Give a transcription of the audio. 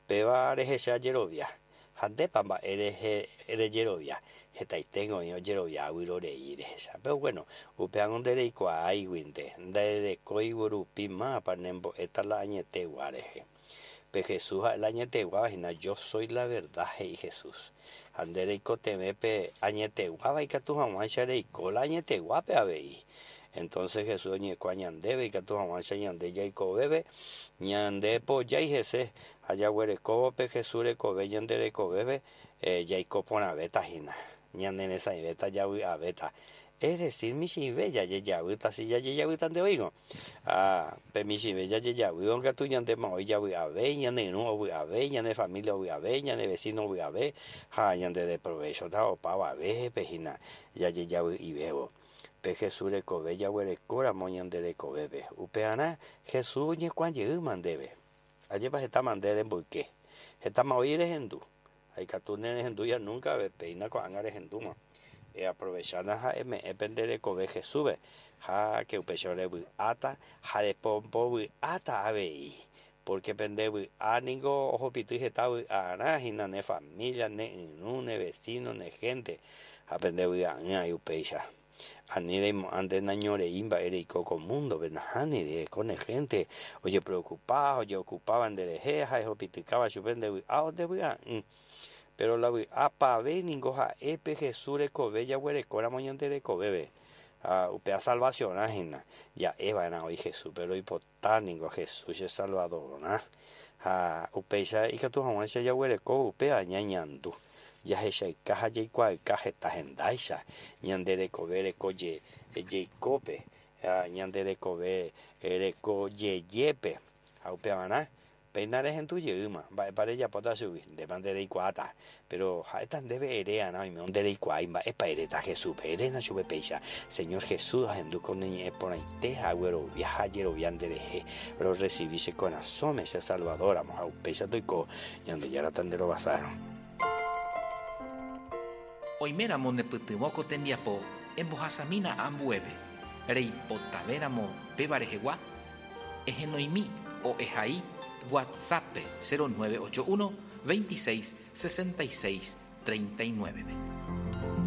Péva rehecha jerovia. Ha ndépa mba'e rehe rejerovia? Hetaiténgo oĩ ojerovia vyrorei rehecha. Péro guéno, upévango ndereikuaáiguinte, nderekóigui rupi mávapa nembo'éta la añetegua rehe. Pe Jesús ha'e la añeteguáva hína, Yo soy la verdad, he'i Jesús. Ha nde reikotevẽ pe añeteguáva ikatu hag̃uáicha reiko la añeteguápe avei. Entonces Jesús oñekua ñandéve ikatu hag̃uáicha ñande jaikovéve, ñande pojái hese ha jaguerekóvo pe Jesús rekove ñande rekovépe jaiko porãvéta hína, ñaneresãivéta, javy'avéta. Es decir, michĩve jajejavýta si jajejavýta nde oĩrõ. Ha pe michĩve jajejavýrõ katu ñandéma oĩ javy'ave, ñane irũ ovy'ave, ñane familia ovy'ave, ñane vecino ovy'ave ha ñande deprovéchota opavavépe hína jajejavy'ivévo. Pe Jesús rekove jaguerekóramo ñande rekovépe. Upearã Jesús oñekuã jeýma ndéve. Ajépa hetáma nde remboyke. Hetáma oĩ rehendu. Ha ikatu nerehendúiha núnka ave, péina ko'ág̃a rehendúma. Eaprovechána ha eme'ẽ pe nde rekove Jesúspe, ha ke upéicha revy'áta ha repombovy'áta avei. Pórke pe nde vy'a ningo ohupity heta vy'arã hína ne família, ne irũ, ne vesíno, ne hénte, ha pe nde vy'a'ỹ aĩ upéicha. Ani reimo'ã nde nañorei mba'e reiko ko múndope, nahániri, reko ne hénte ojepreokupa ha ojeokupáva nderehe ha ehopitykáva chupe nde vy'a o nde vy'a'ỹ. Péro la vy'a pave ningo ha'e pe Jesús rekove jaguerekóramo ñande rekovépe. Ha upéva salvasiõrã hína. Ja'e va'erã oĩ Jesúspe roipota. Ta ningo Jesús che Salvadorã, ha upéicha ikatu hag̃uáicha jaguereko upéva ñañandu, jahechayka ha jaikuaayka heta hendáicha ñande rekove reko jeikópe, ha ñande rekove reko jejépe, ha upevarã péina rehendu jeýma mba'épa rejapóta chugui, ndépa nde reikuaáta. Péro ha'éta ndéve eréarã oimérõ ndereikuaái mba'épa eréta Jesúspe. Eréna chupe péicha, Señor Jesús, ahendu ko ne ñe'ẽ porãite ha aguerovia ha ajerovia nderehe. Rorresivi che korasõme che Salvador-ramo ha upéicha toiko Ñandejára tanderovasárõ. Oiméramo nepytyvõ ko tembiapo embohasamína ambuépe, reipotavéramo péva rehegua, Ehenoimi o ehai WhatsApp-pe 0981 26 66 39-pe.